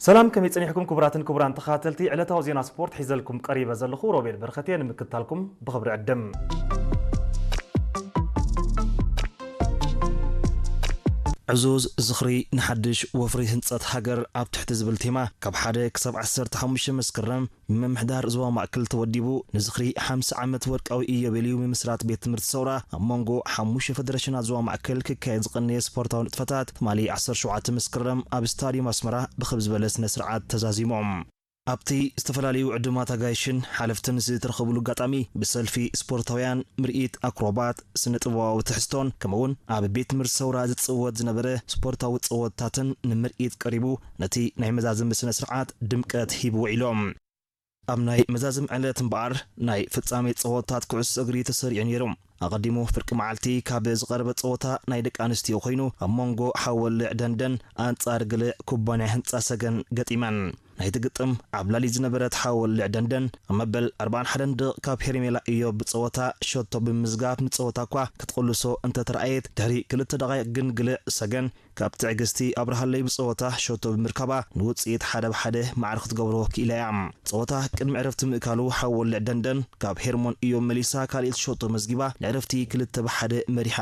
ሰላም፣ ከመይ ጸኒሕኩም ክቡራትን ክቡራን ተኸታተልቲ ዕለታዊ ዜና ስፖርት? ሒዘልኩም ቀሪበ ዘለኹ ሮቤል በረኸት እየ። ንምክትታልኩም ብኽብሪ ዕድም። ዕዙዝ ዝኽሪ ንሓድሽ ወፍሪ ህንጸት ሃገር ኣብ ትሕቲ ዝብል ቴማ ካብ ሓደ ክሳብ ዓሰርተ ሓሙሽተ መስከረም ምምሕዳር ዞባ ማእከል ተወዲቡ ንዝኽሪ ሓምሳ ዓመት ወርቃዊ ኢዮቤልዩ ምምስራት ቤት ትምህርቲ ሰውራ ኣብ መንጎ ሓሙሽተ ፈደረሽናት ዞባ ማእከል ክካየድ ዝቐነየ ስፖርታዊ ንጥፈታት ትማሊ ዓሰርተ ሸውዓተ መስከረም ኣብ ስታድዮም ኣስመራ ብኽብ ዝበለ ስነ ስርዓት ተዛዚሞም። ኣብቲ ዝተፈላለዩ ዕዱማት ኣጋይሽን ሓለፍትን ዝተረኸብሉ ኣጋጣሚ ብሰልፊ ስፖርታውያን፣ ምርኢት ኣክሮባት፣ ስነ ጥበባዊ ትሕዝቶን ከምኡውን ኣብ ቤት ትምህርቲ ሰውራ ዝጽወት ዝነበረ ስፖርታዊ ጸወታትን ንምርኢት ቀሪቡ ነቲ ናይ መዛዘሚ ስነ ስርዓት ድምቀት ሂቡ ውዒሎም። ኣብ ናይ መዛዘሚ ዕለት እምበኣር ናይ ፍጻሜ ጸወታት ኩዕሶ እግሪ ተሰሪዑ ነይሩ። ኣቐዲሙ ፍርቂ መዓልቲ ካብ ዝቐረበ ጸወታ ናይ ደቂ ኣንስትዮ ኮይኑ ኣብ መንጎ ሓወልዕ ደንደን ኣንጻር ግልዕ ኩባንያ ህንጻ ሰገን ገጢመን። ናይቲ ግጥም ዓብላሊ ዝነበረት ሓወልዕ ደንደን ኣብ መበል ኣርባዓን ሓደን ደቕ ካብ ሄርሜላ ኢዮብ ብጸወታ ሸቶ ብምዝጋብ ንጸወታ እኳ ክትቕልሶ እንተተረኣየት ድሕሪ ክልተ ደቓይቕ ግን ግልዕ ሰገን ካብ ትዕግስቲ ኣብርሃለይ ብጸወታ ሸቶ ብምርካባ ንውጽኢት ሓደ ብ ሓደ ማዕረ ክትገብሮ ክኢላ እያ። ጸወታ ቅድሚ ዕረፍቲ ምእካሉ ሓወልዕ ደንደን ካብ ሄርሞን ኢዮብ መሊሳ ካልኣይቲ ሸቶ መዝጊባ ንዕረፍቲ ክልተ ብ ሓደ መሪሓ